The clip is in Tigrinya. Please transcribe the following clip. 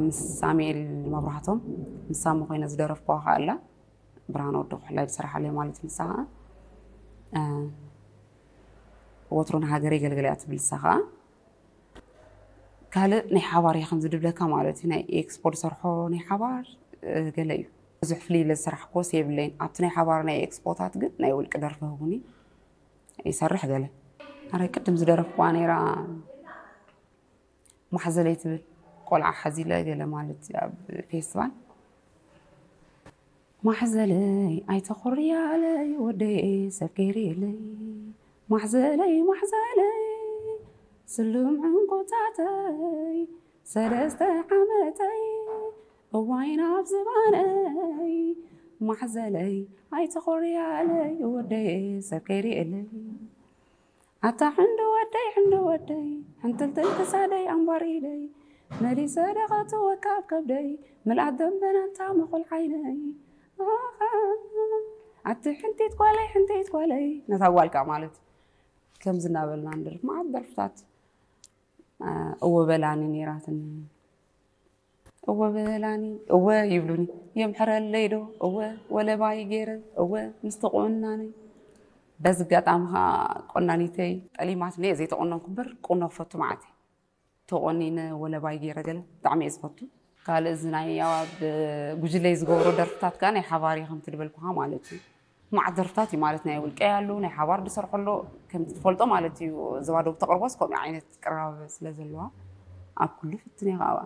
ምስ ሳሙኤል መብራህቶም፣ ምስ ሳሙ ኮይነ ዝደረፍኩዋ ከኣ ኣላ። ብርሃን ወዲ ኩሕላይ ዝሰራሓለይ ማለት ንሳ ከኣ፣ እ፣ ወትሩ ንሃገር የገልግል እያ ትብል ንሳ ከኣ። ካልእ ናይ ሓባር እየ ከምዚ ድብለካ ማለት እዩ። ናይ ኤክስፖ ዝሰርሖ ናይ ሓባር፣ እ፣ ገለ እዩ። ብዙሕ ፍልይ ኢለ ዝሰራሕክዎስ የብለይን። ኣብቲ ናይ ሓባር ናይ ኤክስፖታት ግን ናይ ውልቂ ደርፊ ህቡኒ ይሰርሕ ገለ። ኣረ ቅድም ዝደረፍኩዋ ነይራ ማሕዘለይ ትብል ቆልዓ ሓዚለ ገለ ማለት እዩ ኣብ ፌስቲቫል። ማሕዘለይ ኣይተኾርያለይ ወደይ ሰብ ከይርእየለይ። ማሕዘለይ ማሕዘለይ ስሉም ዕንቁታተይ ሰለስተ ዓመተይ እዋይ ናብ ዝባነይ። ማሕዘለይ ኣይተኾርያለይ ወደይ ሰብ ከይርእየለይ። ኣታ ሕንዲ ወደይ ሕንዲ ወደይ ሕንትልትል ክሳደይ ኣንባር ኢደይ መሊሰ ደቐቱ ወካብ ከብደይ ምልኣት ደንበና እንታ መኾል ዓይነይ። ኣቲ ሕንቲት ጓለይ ሕንቲት ጓለይ ነታ ጓልካ ማለት እዩ። ከምዚ እናበልና ንደርፍ መዓት ደርፍታት። እ፣ እወ በላኒ ነይራትኒ። እወ በላኒ እወ ይብሉኒ የምሕረለይ ዶ እወ ወለባይ ገይረ እወ ምስቲ ቁንናነይ። በዚ ኣጋጣሚ ከዓ ቆናኒተይ ጠሊማትኒ እየ ዘይተቆነንኩ እምበር ቁኖ ክፈቱ መዓት እየ። ተቆኒነ ወለባይ ገይረ ገለ ብጣዕሚ እየ ዝፈቱ። ካልእ እዚ ናይ ኣብ ጉጅለይ ዝገብሮ ደርፍታት ከዓ ናይ ሓባር እየ ከምቲ ዝበልኩኻ ማለት እዩ። መዓት ደርፍታት እዩ ማለት ናይ ውልቀይ ኣሎ ናይ ሓባር ዝሰርሖ ኣሎ ከምቲ ትፈልጦ ማለት እዩ። እዛ ባዶ ብተቕርቦስ ከምኡ ዓይነት ቅራብ ስለ ዘለዋ ኣብ ኩሉ ፍትን እየ ከዓ።